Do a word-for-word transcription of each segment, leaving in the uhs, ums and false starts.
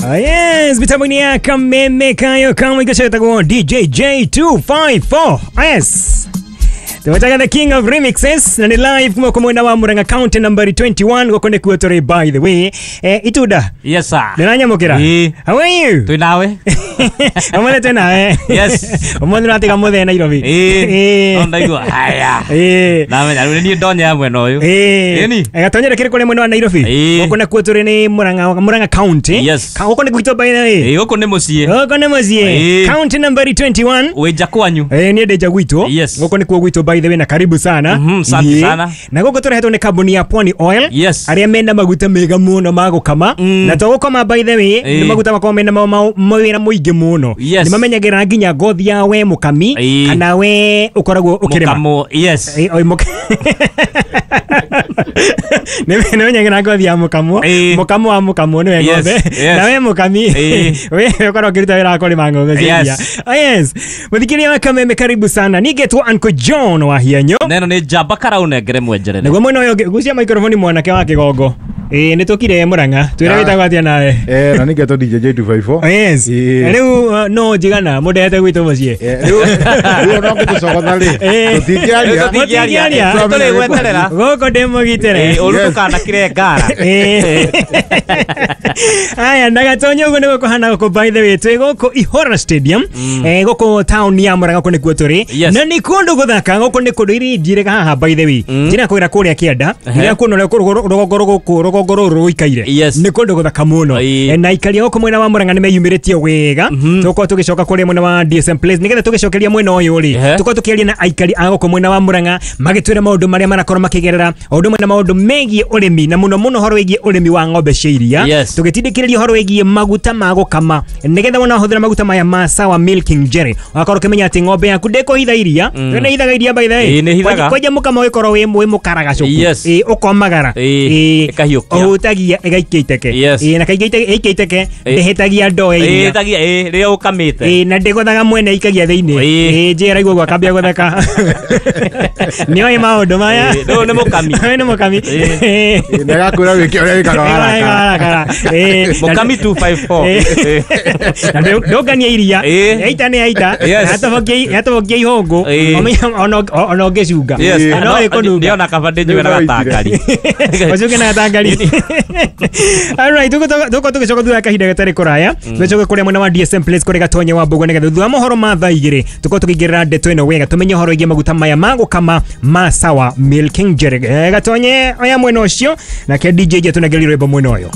Ah, yes, mitambo-inĩ ya Kameme kayo kamwe gacetagwo D J J two five four. Yes. Tumetaga the king of remixes na ni live kuma kwa mwena wa Murang'a County number twenty-one goko nĩkuo tũrĩ by the way. Eh, Itunda. Yes sir. Ndĩranyamũkĩra. Ĩĩ. How are you? Twĩ nawe. Ũmũthĩ twĩ nawe. Yes. Ũmũthĩ ũratiga mũthee Nairobi. Ĩĩ. Ĩĩ. No ndaigua haya. Ĩĩ. Namenya rĩu nĩ niĩ ndonya mwena ũyũ. Ĩĩ. Ĩni. Gatonyere kĩrĩ kũrĩa mwena wa Nairobi. Ĩĩ. Gũkũ nĩkuo tũrĩ nĩ Murang'a Murang'a County. Yes. Ka gũkũ nĩ gwitũ by the way. Ĩĩ gũkũ nĩ mũciĩ. Gũkũ nĩ mũciĩ. Ĩĩ. County number twenty-one. Wĩ nja kwanyu. Eh, niĩ ndĩ nja gwitũ. Yes. Gũkũ nĩkuo gwitũ by the way na karibu sana. Mhm, asante Ĩĩ. sana. Na gũkũ tũrehetwo nĩ kambuni ya Pwani Oil. Yes. Arĩa mena maguta mega mũno ma gũkama. Mm. Na to gũkama by the way, Ĩĩ. nĩ maguta makoragwo mena ma- ma- mawĩra mũingĩ mũno. Yes. Nĩ mamenyagĩrĩra nginya ngothi ya we mũkami Ĩĩ. kana we ũkoragwo ũkĩrĩma. Mũkamo. Yes. Ĩĩ, oi, mũka- Nĩ nĩmenyagĩra ngothi ya mũkamwo. Ĩĩ. Mũkamo wa mũkamwo nĩwe Yes, ng'ombe. yes. Na we mũkami Ĩĩ. we ũkoragwo ũkĩruta wĩra wa kũrĩma ng'ombe cia Yes. iria. Oh, yes. Mũthikĩria wa Kameme karibu sana. Nigetwo Uncle John wa Hianyo. Neno nĩ njamba karaunengere mwenjerere. Nĩguo mwena ũyũ ũngĩ gucia microphone mwanake wa kĩgongo. Ĩĩ nĩ tũkire Murang'a. Twĩre Ah. wĩtagwo atĩa nawe? Eh, na nĩngetwo D J J two five four. Oh, yes. Ĩĩ. Rĩu uh, no njigana mũndehete gwitũ mũciĩ. Eh, rĩu rĩu ona ũngĩtũcogotha rĩ, Ĩĩ. tũtingĩaria. Rĩu tũtingĩaria. Tũtingĩaria. Tũrĩ gweterera. Gũkũ ndĩ mũgitĩre. Ĩĩ, ũru Yes. ndũkanakire ngara. Ĩĩ. Aya ndagatonye ũguo nĩguo kũhana gũkũ by the way twĩ gũkũ Ihora Stadium eh, gũkũ town ya Murang'a kũu nĩkuo tũrĩ Yes. na nĩ kũndũ gũthaka gũkũ nĩ kũndũ iria njirĩga haha by the way njĩra kwĩra kũrĩa kĩanda njĩra kuona ũrĩa kũrũ- rũgongo rũgũkũ rũgongo rũrũ rũikaire Yes. nĩ kũndũ gũthaka mũno Ĩĩ. Eh, na aikari a gũkũ mwena wa Murang'a nĩmeyumĩrĩtie wega tũgũkorwo tũgĩcoka kũrĩa mwena wa D S M Place nĩgetha tũgĩcokeria mwena ũyũ rĩ Ehe. tũkorwo tũkĩaria na aikari a gũkũ mwena wa Murang'a magĩtwĩra maũndũ marĩa marakorwo makĩgerera o ũndũ ũmwe na maũndũ megiĩ ũrĩmi na mũno mũno ũhoro wĩgiĩ ũrĩmi wa ng'ombe cia iria Yes. tũgĩtindĩkĩrĩria ũhoro wĩgiĩ maguta ma gũkama nĩgetha wona wahũthĩra maguta maya ma Sawa Milking Jelly ũgakorwo ũkĩmenya atĩ ng'ombe yaku ndĩkũhitha iria mm. nĩ hithaga iria by the way Ĩĩ, nĩ hithaga. kwanja mũkamo ũgĩkorwo wĩ wĩ mũkaragacũku Yes. Ĩĩ, ũkomagara Ĩĩ, Ĩĩ, ĩkahiũkia. ũhutagia ĩgaikia iteke Yes. Ĩĩ, na kaingĩ ite- ĩikia iteke Ĩĩ. ndĩhĩtagia ndoo ya Ĩĩ, iria ĩtagia ĩĩ rĩrĩa ũkamĩte. Ĩĩ, na ndĩgũthaga mwene ikagia thĩinĩ Ĩĩ. Ĩĩ, njĩra igua ũguo akambia gũtheka nĩoĩ maũndũ maya Ĩĩ, rĩu nĩ mũkami. Ũyũ nĩ mũkami Ĩĩ. Ĩĩ. Ĩĩ, na agakwĩra wĩke ũrĩa wĩkaga warakara. Warakara. Ĩĩ. Mũkami two five four. Ĩĩ. Na ndũ- ndũngania iria Ĩĩ. yaita nĩ yaita Yes. Yatobokia- yatobokia ihũngũ Ĩĩ. Ũmenya- ona ona ũngĩcunga Yes. Ĩĩ. No ĩkũnunga Ndĩona kaba ndĩnyue na Rĩu no gatangari. ũcuke na gatangari. Alright, tũgũkorwo tũgĩcoka thutha wa kahinda gatarĩ kũraya tũcoke kũrĩa mwena wa D S M Place kũrĩa Gatonye wa Mbũgũ nĩgetha thutha wa mohoro ma thaa igĩrĩ tũkorwo tũkĩingĩrĩra ndeto ĩno wega tũmenye ũhoro wĩgiĩ maguta maya ma gũkama ma Sawa Milking Jelly. Eh, Gatonye oya mwena ũcio nake D J atũnengerie rwĩmbo mwena ũyũ.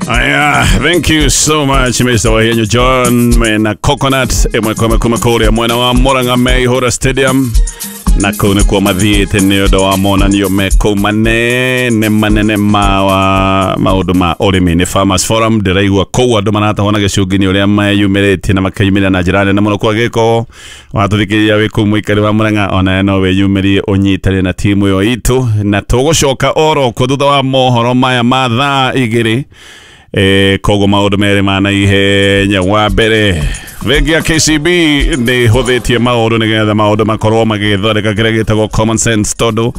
Aya, thank you so much Mister Wahianyo John mena Coconut ĩmwe kwa ĩmwe kuma kũrĩa mwena wa Murang'a me Ihora Stadium na kũu nĩkuo mathiĩte nĩ ũndũ wa monanio me kũu manene manene ma wa maũndũ ma ũrĩmi nĩ Farmers Forum ndĩraigua kũu andũ maratahwo na gĩcungi nĩ ũrĩa meyumĩrĩtie na makeyumĩria na njĩra nene mũno kwa gĩko watũthikĩrĩria wĩ kũu mũikari wa Murang'a onawe no wĩyumĩrie ũnyitane na timu ĩyo itũ na tũgũcoka oro kuo thutha wa mohoro maya ma thaa igĩrĩ. Eh, koguo maũndũ merĩ ma naihenya wa mbere bengi ya K C B nĩ hũthĩtie maũndũ nĩgetha maũndũ makorwo magĩthondeka kĩrĩa gĩtagwo common sense tondũ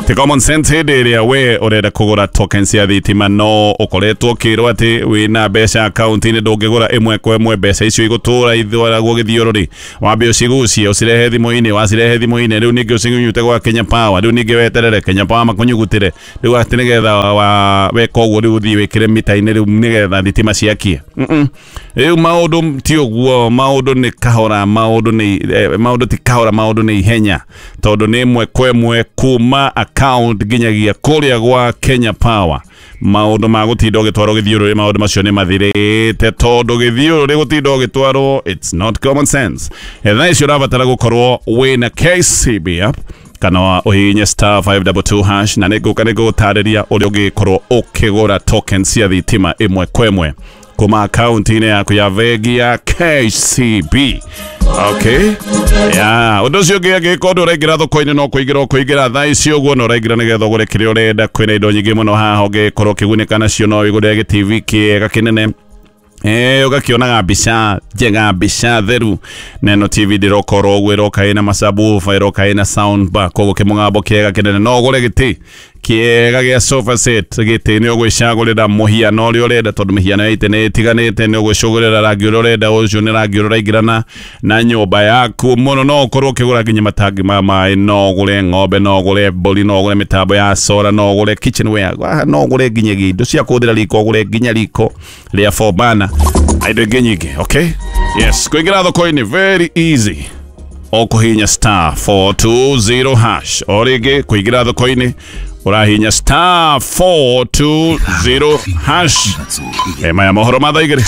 ti common sense hĩndĩ ĩrĩa we ũrenda kũgũra tokens cia thitima no ũkoretwo ũkĩrwo atĩ wĩna mbeca akaunti-inĩ ndũngĩgũra ĩmwe kwa ĩmwe mbeca icio igũtũra ithwaragwo gĩthiũrũrĩ wambe ũcigucie ũcirehe thimũ-inĩ wacirehe thimũ-inĩ rĩu ningĩ ũcinyute gwa Kenya Power rĩu ningĩ weterere Kenya Power makũnyugutĩre rĩu atĩ nĩgetha wa weka ũguo rĩu ũthiĩ wĩkĩre mita-inĩ rĩu nĩgetha thitima ciakie. Mm-mm. Rĩu maũndũ ti ũguo maũndũ nĩ kahora maũndũ nĩ eh, maũndũ ti kahora maũndũ nĩ ihenya tondũ nĩ ĩmwe kwa ĩmwe kuma account nginyagia kũrĩa gwa Kenya Power maũndũ ma gũtinda ũgĩtwarwo gĩthiũrũrĩ maũndũ macio nĩ mathirĩte tondũ gĩthiũrũrĩ gũtinda ũgĩtwarwo it's not common sense. Thaa icio ũrabatara gũkorwo wĩna K C B app kana ũhihinye star five double two hash na nĩngũka nĩngũgũtarĩria ũrĩa ũngĩkorwo ũkĩgũra token cia thitima ĩmwe kwa ĩmwe kuma akaunti-inĩ yaku ya bengi ya K C B. Okay. Yeah, ũndũ ũcio ũngĩ angĩkorwo ndũraingĩra thoko-inĩ no kũingĩra ũkũingĩra thaa ici ũguo na ũraingĩra nĩgetha ũgũre kĩrĩa ũrenda kwĩna indo nyingĩ mũno haha ũngĩkorwo ũkĩgunĩka nacio no wĩgũrĩre gĩ T V kĩega kĩnene Eh ugakionaga mbica njega mbica theru na ĩno T V ndĩrokorwo ũguo ĩroka ĩna masabufa ĩroka ĩna sound bar koguo kĩmũgambo kĩega kĩnene no ũgũre gĩtĩ kĩega gĩa sofa set gĩtĩ nĩ ũgwĩcagũrĩra mũhiano ũrĩa ũrenda tondũ mĩhiano ya itĩ nĩ ĩtiganĩte nĩ ũgwĩcagũrĩra rangi ũrĩa ũrenda ũcio nĩ rangi ũrĩa ũraingĩrana na nyũmba yaku mũno no ũkorwo ũkĩgũra nginya matangi ma maĩ no ũgũre ng'ombe no ũgũre mbũri no ũgũre mĩtambo ya solar no ũgũre kitchenware no ũgũre nginya indo cia kũhũthĩra riko ũgũre nginya riko rĩa four burner na indo ingĩ nyingĩ. Okay, yes, kũingĩra thoko-inĩ very easy ũkũhihinya star four two zero hash o rĩngĩ kũingĩra thoko-inĩ ũrahihinya star four two zero hash. E maya mohoro ma thaa igĩrĩ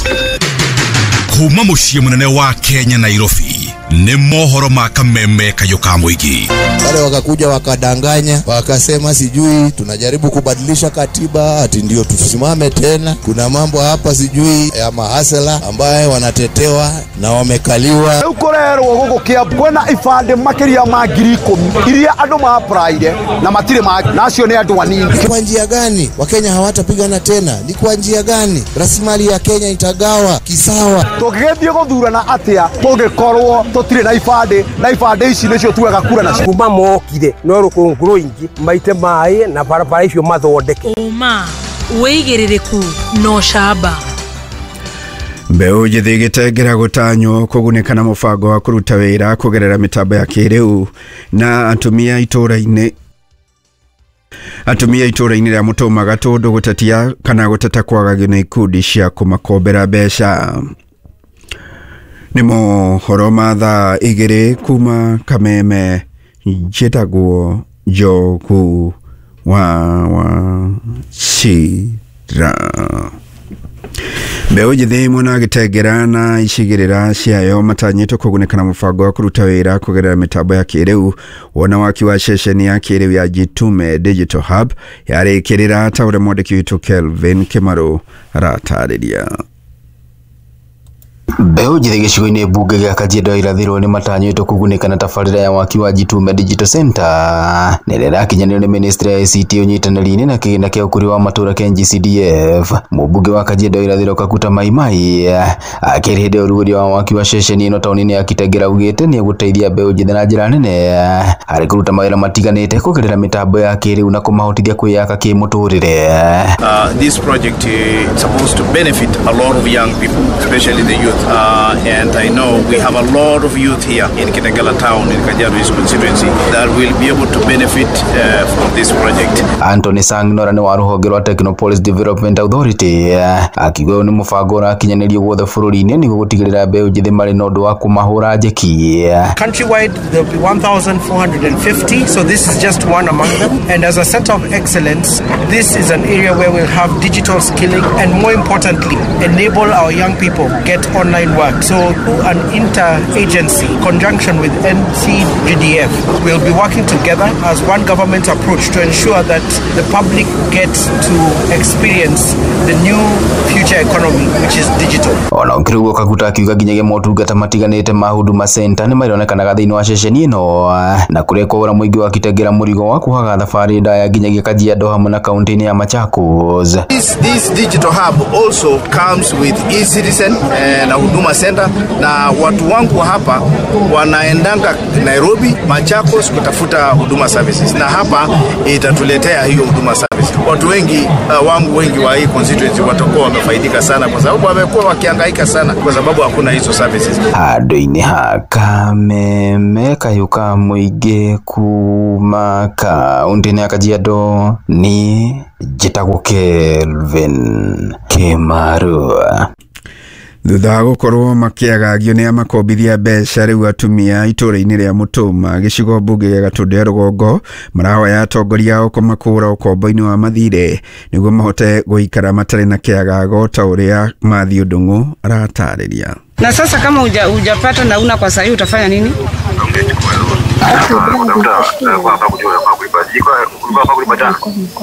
kuma mũciĩ mũnene wa Kenya Nairobi nĩ mohoro ma kameme kayũ ka mũingĩ. Wale wakakuja wakadanganya wakasema sijui tunajaribu kubadilisha katiba ati ndio tusimame tena. Kuna mambo hapa sijui ya mahasela ambaye wanatetewa na wamekaliwa. Rĩu kũrerwo gũkũ Kiambu kwĩna ibandĩ makĩria ma ngiri ikũmi iria andũ ma-applyire na matirĩ ma nacio nĩ andũ anini. Ni kwa njia gani Wakenya hawatapigana tena? Ni kwa njia gani rasilimali ya Kenya itagawa kisawa? Tũngĩgĩthiĩ gũthurana atĩa tũngĩkorwo tũtirĩ na ibandĩ na ibandĩ ici nĩcio tugaga kura nacio? Kuma mokire no rũkũngũ rũingĩ maite maĩ na barabara icio mathondeke. Ũma wĩigĩrĩrĩku na ũcamba. Mbeũ njĩthĩ gĩtengera gũtanywo kũgunĩka na mũbango wa kũruta wĩra kũgerera mĩtambo ya kĩrĩu na atumia itũra-inĩ atumia itũra-inĩ rĩa Mũtũma Gatũndũ gũtetia kana gũteta kwagagio nĩ ikundi cia kũmakombera mbeca. Nĩ mohoro ma thaa igĩrĩ kuma Kameme njĩtagwo Njogu wa Wachira. Mbeũ njĩthĩ mwena wa Gĩtengera na icigĩrĩra ciayo matanyĩtwo kũgunĩka na mũbango wa kũruta wĩra kũgerera mĩtambo ya kĩrĩu wona waki wa ceceni ya kĩrĩu ya Jitume Digital Hub yarĩkĩrĩra ta ũrĩa mwandĩki witũ Kelvin Kĩmarũ aratarĩria. Mbeũ njĩthĩ gĩcigo-inĩ mbunge gĩa Kajiado ya irathĩro nĩ matanyĩtwo kũgunĩka na tabarĩra ya waki wa Jitume Digital Center na ĩrĩa ĩrakinyanĩrio nĩ ministry ya I C T ũnyitanĩri-inĩ na kĩgĩna kĩa ũkũria wa matũũra kĩa N G C D F. Mũmbunge wa Kajiado ya irathĩro Kakuta Maimai akĩrĩ hĩndĩ ya ũrugũria wa waki wa ceceni ĩno taũni-inĩ ya Kitengela augĩte nĩ egũteithia mbeũ njĩthĩ na njĩra nene harĩ kũruta mawĩra matiganĩte kũgerera mĩtambo ya kĩrĩu na kũmahotithia kwĩyaka kĩmũtũrĩre. Uh, this project is supposed to benefit a lot of young people, especially the youth. Uh, and I know we have a lot of youth here in Kitengela town in Kajiado East constituency that will be able to benefit uh, from this project. Anthony Sangnora nĩ wa rũhonge rwa Technopolis Development Authority akiuga ũyũ nĩ mũbango ũrakinyanĩrio guothe bũrũri-inĩ nĩguo gũtigĩrĩra mbeũ njĩthĩ marĩ na ũndũ wa kũmahũra njeki. Countrywide there will be one thousand four hundred fifty, so this is just one among them. And as a center of excellence, this is an area where we'll have digital skilling and more importantly enable our young people get online work. So through an inter-agency conjunction with N C G D F, we'll be working together as one government approach to ensure that the public gets to experience the new future economy, which is digital. Ona ũkĩrĩ ũguo Kakuta akiuga nginyagia motungata matiganĩte ma Huduma Center nĩ marĩonekanaga thĩinĩ wa ceceni ĩno na kũrĩa kũgũra mũingĩ wa Kitengela mũrigo wa kuhaga thabarĩ ndaya nginyagia Kajiado hamwe na kaunti-inĩ ya Machakos. This, this digital hub also comes with e-citizen eh, na Huduma Center, na watu wangu hapa wanaendanga Nairobi, Machakos kutafuta huduma services, na hapa itatuletea hiyo huduma service. Watu wengi uh, wangu wengi wa hii constituency watakuwa wamefaidika sana kwa sababu wamekuwa wakihangaika sana kwa sababu hakuna hizo services. Handũ-inĩ ha Kameme kayũ ka mũingĩ kuma kaunti-inĩ ya Kajiado ni njĩtagwo Kelvin Kĩmarũ. Thutha wa gũkorwo makĩagagio nĩ amakombithia mbeca rĩu atumia itũra-inĩ rĩa Mũtũma gĩcigo mbunge gĩa Gatũndũ ya rũgongo marahoya atongoria ao kũmakũra ũkombo-inĩ wa mathirĩ nĩguo mahote gũikara matarĩ na kĩagago ta ũrĩa Matthew Ndung'u aratarĩria. Na sasa kama hujapata na una kwa sahi utafanya nini? Ungechukua loan.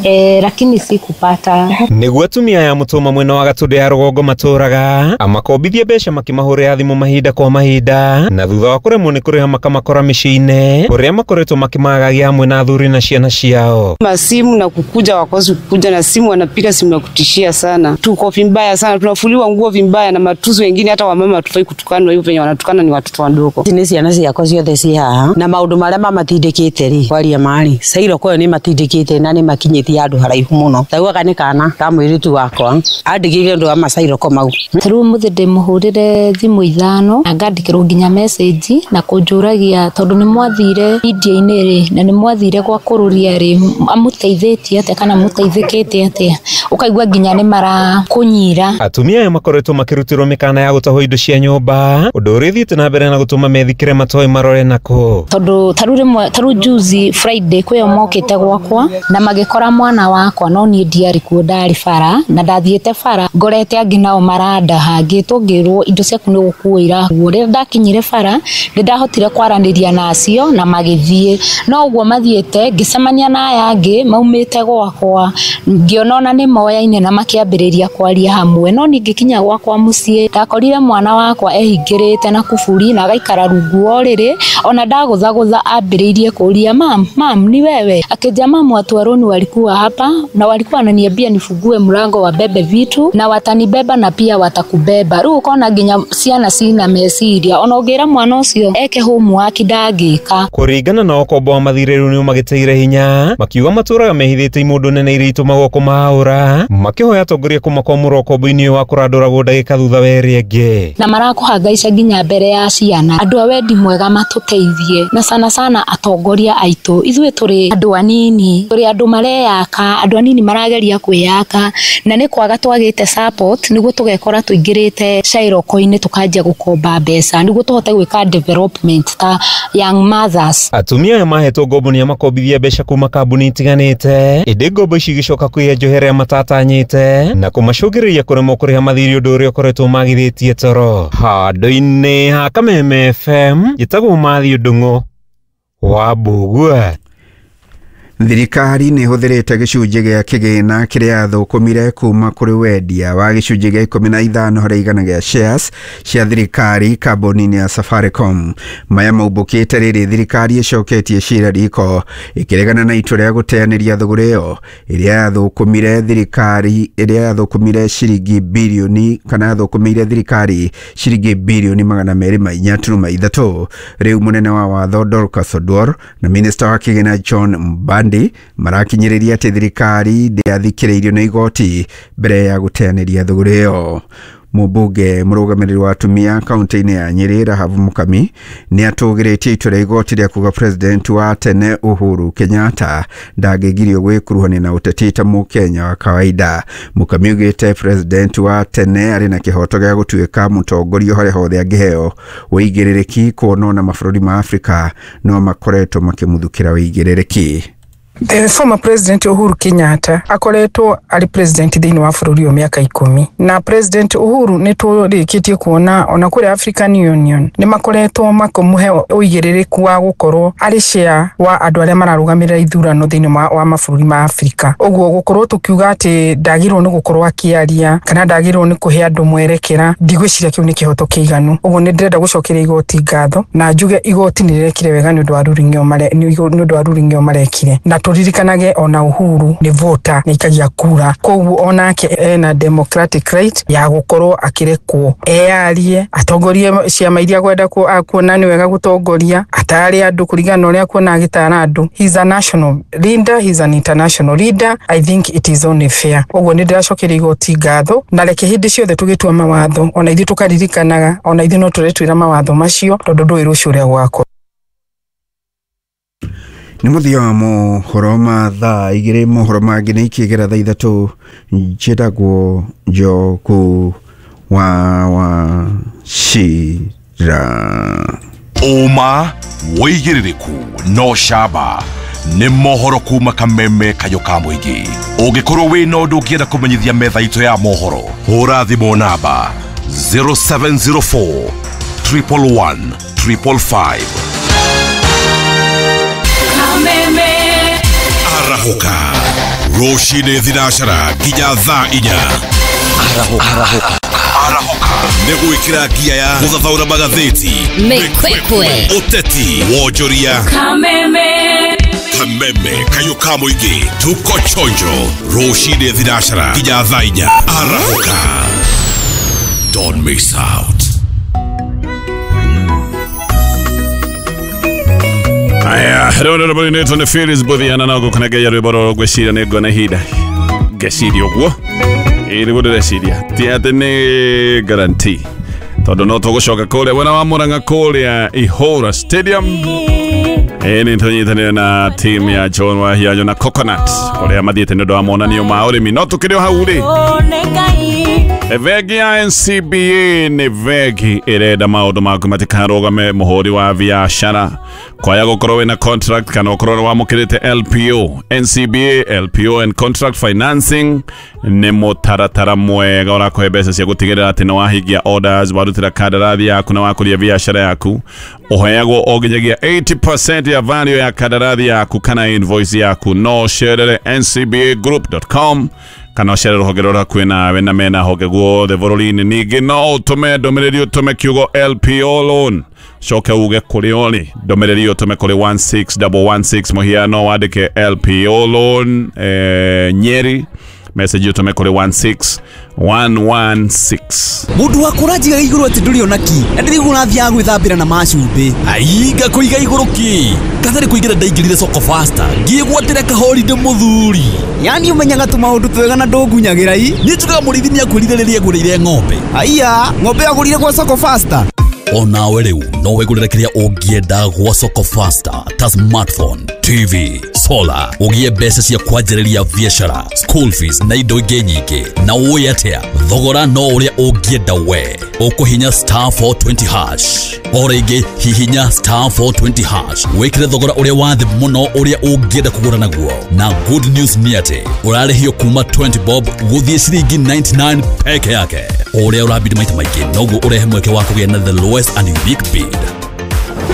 Eh, lakini sikupata. Nĩguo atumia aya Mũtũma mwena wa Gatũndũ ya rũgongo matũraga amakombithie mbeca makĩmahũrĩra thimũ mahinda kwa mahinda na thutha wa kũremwo nĩ kũrĩha makamakora mĩciĩ-inĩ kũrĩa makoretwo makĩmagagia hamwe na athuri na ciana ciao. Masimu na kukuja wakosi kukuja na simu, wanapiga simu ya kutishia sana. Tuko vibaya sana, tunafuliwa nguo vibaya na matuzi wengine, hata wamama hatufai kutukanwa hivyo, venye wanatukana ni watoto wadogo. Nĩ ciana ciakwa ciothe ciĩ haha na maũndũ marĩa mamatindĩkĩte rĩ kwaria marĩ cairo kwayo nĩ matindĩkĩte na nĩ makinyĩtie handũ haraihu mũno. Taugaga nĩ kana ka mũirĩtu wakwa andigĩire ũndũ wa macairoko mau. Rĩu mũthĩ ndĩmũhũrĩre thimũ ithano na ngandĩkĩrwo nginya message na kũnjũragia tondũ nĩ mwathire media-inĩ rĩ na nĩ mwathire gwa kũrũria rĩ amũteithĩtie atĩa kana mũteithĩkĩte atĩa, ũkaigua nginya nĩ marakũnyira. Atumia aya makoretwo makĩrutĩrwo mĩkana ya gũtahwo indo cia nyũmba ũndũ ũrĩa ũthiĩte na mbere na gũtũma methikĩre matoĩ marore nako. Tondũ tarĩu rĩmwe tarĩu juzi Friday kwĩyo mokĩte gwakwa na magĩkora mwana wakwa no niĩ ndiarĩ kuo, ndarĩ bara na ndathiĩte bara ngorete angĩ nao marandaha ngĩtwo ngĩrwo indo ciaku nĩ gũkuo irakuo. Rĩrĩa ndakinyire bara nĩ ndahotire kwaranĩria nacio na magĩthiĩ, no ũguo mathiĩte ngĩcemania na aya angĩ maumĩte gwakwa ngĩona ona nĩ moyaine na makĩambĩrĩria kwaria hamwe. No niĩ ngĩkinya gwakwa mũciĩ ndakorire mwana wakwa ehingĩrĩte na kuburi na agaikara rungu wa ũrĩrĩ, ona ndagũthagũtha ambĩrĩirie kũria mam mam ni wewe, akĩnjia mam watu wa roni walikuwa hapa na walikuwa wananiambia nifungue mlango wabebe vitu na watanibeba na pia watakubeba. Rĩu ũkona nginya ciana cina meciria ona ũngĩra mwana ũcio eke homework ndangĩka. Kũringana na ũkombo wa mathirĩ rĩu nĩ magĩteire hinya makiuga matũraga mehithĩte imũndũ nene iria itũmagwo kũmaũra makĩhoya atongoria kũmakwamũra ũkombo-inĩ wa kũrandũragwo ndagĩka thutha wa ĩrĩa ĩngĩ. Na marakũhangaica nginya mbere ya ciana. Andũ a wendi mwega matũteithie na sana sana atongoria aitũ. Ithuĩ tũrĩ andũ anini, tũrĩ andũ mareyaka, andũ anini marageria kwĩyaka na nĩ kwaga twagĩte support nĩguo tũgekora tũingĩrĩte cairoko-inĩ tũkanjia gũkomba mbeca nĩguo tũhote gwĩka development ta young mothers. Atumia aya mahetwo ngombo nĩ amakombithia mbeca kuma kambuni itiganĩte ĩndĩ ngombo ici igĩcoka kwĩya njohera matatanyĩte na kũmacũngĩrĩria kũremwo kũrĩha mathirĩ ũndũ ũrĩa ũkoretwo magithĩtie toro. Handũ-inĩ ha Kameme F M njĩtagwo Mathiũ Ndung'u wa Mbũgua. Thirikari nĩ ĩhũthĩrĩte gĩcunjĩ gĩa kĩgĩna kĩrĩa yathũkũmire kuma kũrĩ wendia wa gĩcunjĩ gĩa ikũmi na ithano harĩ igana gĩa shares cia thirikari kambuni-inĩ ya Safaricom. Maya maumbũkĩte rĩrĩ thirikari ĩcoketie cira riko ĩkĩregana na itua rĩa gũteanĩria thũgũrĩ ĩyo ĩrĩa yathũkũmire thirikari ĩrĩa yathũkũmire ciringi birioni kana yathũkũmĩire thirikari ciringi birioni magana merĩ ma inya turuma ithatũ. Rĩu mũnene wa watho Dorcas Oduor na minista wa kĩgĩna John Mbadi marakinyĩrĩria atĩ thirikari ndĩathikĩrĩirio nĩ igoti mbere ya gũteanĩria thũgũrĩ ĩyo. Mũmbunge mũrũgamĩrĩri wa atumia kaunti-inĩ ya Nyĩrĩ Rahabu Mukami nĩ atũgĩrĩtie itua rĩa igoti rĩa kuga president wa tene Uhuru Kenyatta ndangĩgirio gwĩkuruhania na ũteti ta mũkenya wa kawaida. Mukami augĩte president wa tene arĩ na kĩhoto gĩa gũtuĩka mũtongoria harĩa hothe angĩheo ũigĩrĩrĩki kuona na mabũrũri ma Afrika no makoretwo makĩmuthũkĩra ũigĩrĩrĩki. The former president Uhuru Kenyatta akoretwo ari president thĩinĩ wa bũrũri ũyũ mĩaka ikũmi na president Uhuru nĩ tũrĩkĩtie kuona ona kũrĩa African Union nĩ makoretwo makĩmũhe ũigĩrĩrĩku wa gũkorwo arĩ chair wa andũ arĩa mararũgamĩrĩra ithurano thĩinĩ wa mabũrũri ma Afrika. Ũguo gũkorwo tũkiuga atĩ ndagĩrĩirwo nĩ gũkorwo akĩaria kana ndagĩrĩirwo nĩ kũhe andũ mwerekera, ndigwĩciria kĩu nĩ kĩhoto kĩiganu. Ũguo nĩ ndĩrenda gũcokeria igoti ngatho na njuge igoti nĩ rĩrekire wega nĩ ũndũ wa ruling ĩyo mare nĩ ũndũ wa ruling ĩyo marekire, na turirikanage ona Uhuru ni voter ni ikagia kura, koguo onake ena democratic right ya gukorwo akirekwo eyarie atongorie ciama iria kwenda kuona ni wega gutongoria atare andu kuringana na uria kuona agitara andu. He is a national leader, he is an international leader. I think it is only fair. Uguo ni ndiracokeria igoti ngatho na reke hindi ciothe tugitua mawatho ona ithuĩ tukaririkanaga ona ithuĩ no tũretwĩra mawatho macio tondu ndũĩ rũciũ ũrĩa gwakorwo. Nĩ mũthia wa mohoro ma thaa igĩrĩ, mohoro mangĩ nĩ ikĩgera thaa ithatũ. Njĩtagwo Njoku wa Wachira. Ũma wĩigĩrĩrĩku no camba nĩ mohoro kuma Kameme Kayũ ka mũingĩ. Ũngĩkorwo wĩna ũndũ ũngĩenda kũmenyithia metha itũ ya mohoro, hũra thimũ namba zero seven zero four triple one triple five. Arahũka rũcinĩ thinacara nginya thaa inya. Arahũka. Arahũka nĩ gwĩkĩra ngia ya gũthathaũra magathĩti, Mĩkwekwe, ũteti, wonjoria, Kameme, Kameme kayũ ka mũingĩ. Tuko chonjo rũcinĩ thinacara nginya thaa inya. Arahũka, don't miss out. Aya, rĩu nĩ rwĩmbo rũinĩtwo nĩ Phyllis Buthiana na ngũkũnengeria rwĩmbo rũrũ ngwĩciria nĩ nguona ihinda ngeciria ũguo. Ĩĩ nĩguo ndĩreciria, ti atĩ nĩ guarantee tondũ no tũgũcoka kũrĩa mwena wa Murang'a kũrĩa Ihũra Stadium. Ĩĩ nĩ tũnyitanĩire na team ya John Wahianyo na Coconut kũrĩa mathiĩte nĩ ũndũ wa monanio ma ũrĩmi. No tũkĩrĩ o hau rĩ, bengi ya N C B A nĩ bengi ĩrenda maũndũ maku matikarũgame mũhũri wa biacara kwaya gũkorwo wĩna contract kana ũkorwo nĩ wamũkĩrĩte L P O. N C B A, L P O and contract financing nĩ mũtaratara mwega ũrakũhe mbeca cia gũtigĩrĩra atĩ nĩ wahingia orders, warutĩra kandarathi yaku na wakũria biacara yaku. Ũheagwo o nginyagia eighty percent ya value ya kandarathi yaku kana invoice yaku. No ũcerere N C B A group dot com kana ũcerere rũhonge rũrĩa hakuhĩ nawe na mena honge guothe bũrũri-inĩ. Ningĩ no ũtũme ndũmĩrĩri ũtũme kiugo L P O loan, coke uge kũrĩa ũrĩ, ndũmĩrĩri ũtũme kũrĩ one six one one six, mũhiano wandĩke L P O loan eh, Nyeri, message ũtũme kũrĩ one six one one six. Mundu waku ũranjigaga igũrũ atĩ ndũrĩ ona ki na ndĩraigua ũrathiaga gwĩthambĩra na macumbĩ. Ai, ngakũiga igũrũ kĩ? Katharĩ kũingĩra ndaingĩrire soko faster ngĩgwatĩra kahorinde mũthuri. Yani ũmenyaga tũmaũndũ twega na ndũngunyagĩra i. Niĩ njugaga mũrĩithi nĩakwĩrire rĩrĩa agũrĩire ng'ombe. Aiya, ng'ombe agũrire gwa soko faster. Onawe rĩu no wĩgũrĩre kĩrĩa ũngĩenda gwa soko faster ta smartphone, T V, solar, ũgĩe mbeca cia kwanjĩrĩria biacara, school fees na indo ingĩ nyingĩ. Na ũĩ atĩa, thogora no ũrĩa ũngĩenda we. Ũkũhinya star four twenty hash. O rĩngĩ hihinya star four twenty hash wĩkĩre thogora ũrĩa wa thĩ mũno ũrĩa ũngĩenda kũgũra naguo. Na good news nĩ atĩ ũrarĩhio kuma twenty bob gũthiĩ ciringi ninety-nine peke yake. O ũrĩa ũrabidi maita maingĩ noguo ũrehe mweke wa kũgĩa na the lowest and unique bid.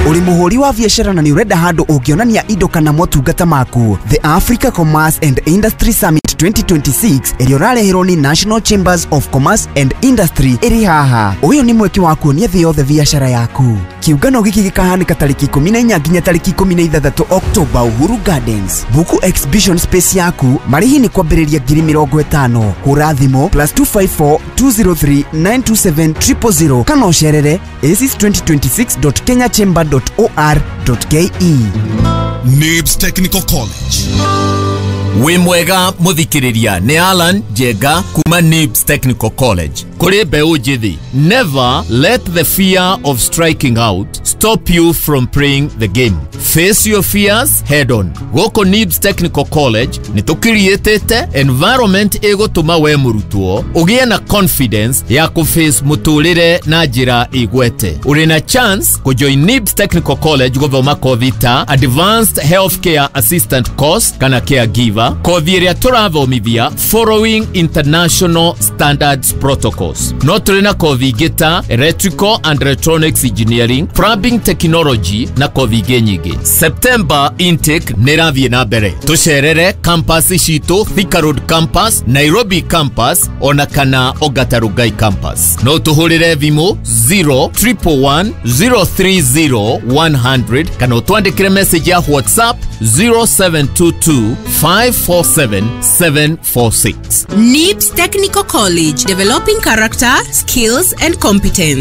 Uri muhuri wa biacara na ni urenda handu ũngĩonania indo kana motungata maku. The Africa Commerce and Industry Summit twenty twenty-six ĩrĩa ũrareherwo nĩ National Chambers of Commerce and Industry ĩrĩ haha. Ũyũ nĩ mweke wa kuonia thĩ yothe biacara yaku. Kiũngano gĩkĩ gĩkahanĩka tarĩki ikũmi na inya nginya tarĩki ikũmi na ithathatũ October Uhuru Gardens. Buku exhibition space yaku, marĩhi nĩ kwambĩrĩria ngiri mĩrongo ĩtano. Hũra thimũ plus two five four two zero three nine two seven triple zero kana ũcerere aces twenty twenty-six dot kenya chamber dot or dot K E. Nibs Technical College. Wĩ mwega mũthikĩrĩria, nĩ Alan Njenga kuma Nibs Technical College. Kũrĩ mbeũ njĩthĩ, never let the fear of striking out stop you from playing the game. Face your fears head on. Gũkũ Nibs Technical College nĩ tũkiriĩtĩte environment ĩgũtũma we mũrutwo ũgĩe na confidence ya kũface mũtũrĩre na njĩra ĩgwete. Ũrĩ na chance kũjoin Nibs Technical College gũthoma kothi ta Advanced Healthcare Assistant Course kana Caregiver, kothi ĩrĩa tũrathomithia following international standards protocols. No tũrĩ na kothi ingĩ ta Electrical and Electronics Engineering, Plumbing Technology na kothi ingĩ nyingĩ. September intake nĩ ĩrathiĩ na mbere. Tũcerere campus citũ, Thika Road campus, Nairobi campus ona kana Ongata Rongai campus. No tũhũrĩre thimũ zero triple one zero three zero one hundred kana ũtwandĩkĩre message ya WhatsApp zero seven two two five four seven seven four six. Nibs Technical College, developing character, skills and competence.